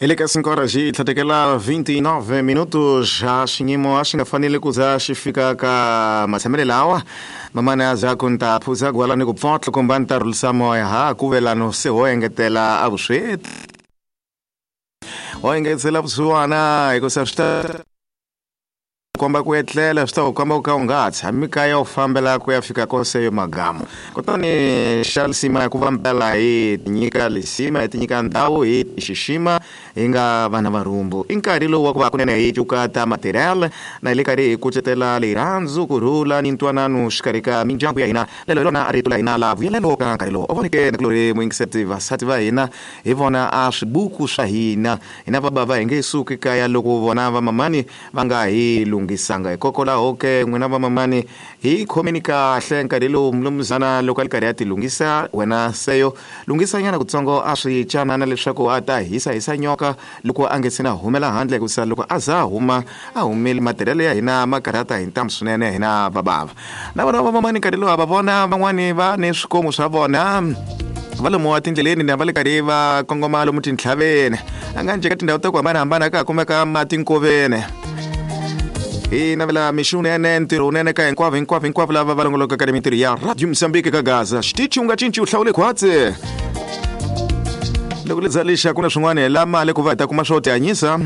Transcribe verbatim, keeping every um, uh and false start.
Hi le ka cinco horas xi tlhatekela vinte e nove minutos. A xiyimo a xi nga fanele ku za xi fika ka matshamelo lawa mamani a za ku ni ta phuza gwala ni ku pfotla kumbe a ni ta rhulisa moya ha ku velano se ho engetela a vusweti, ho engetela vusiwana, hikusa swi ta komba ku etlela, swi ta ku komba ku ka u nga ha tshami kaya, u fambela ku ya fika koseyo magamu. Kutani xa lisima ku va mpela hi tinyika lisima, hi tinyika ndhawu, hi xixima hi nga vana va rhumbu. I nkarhi lowu wa ku va kunene hi cuka ta material na hi le karhi hi kucetela rirhandzu, kurhula ni ntwanano xikarhi ka mindyangu ya hina. Lelo hi rona rito la hina la vuyelelo ka nkarhi lowu. U voneke nakulori muyingiseti, vasati va hina hi vona a swibuku swa hina. Hina vabava hi nge suki kaya loko vona vamamani va nga hi lunghisanga. Hikokwalaho ke n'wina vamamani, hi khomeni kahle nkarhi lowu mulumuzana loko a ri karhi a ti lunghisa. Wena seyo lunghisanyana kutsongo a swi canana leswaku a ta hisa hisa nyoka loko a nge se na humela handle, hikusa loko a za a huma a humile, matirhelo ya hina ma karhata hi ntamu swinene. Hina vabava na vona vamamani nkarhi lowu va vona van'wani va ni swikomu swa vona, va lomu wa tindleleni na va le karhi va kongoma lomu tintlhaveni, a nga njhe ka tindhawu ta ku hambanahambana ka ha kumeka mati nkoveni. Hi navela mixo wunene, ntirho wunene ka hinkwavo hinkwavo hinkwavo lava va longolokaka ni mintirho ya Radio Mozambique ka Gaza. Xitichi u nga cinci, u hlawule khwatsi. Loko li za lixa ku na swin'wana hi la mali ku va hi ta kuma swo tihanyisa.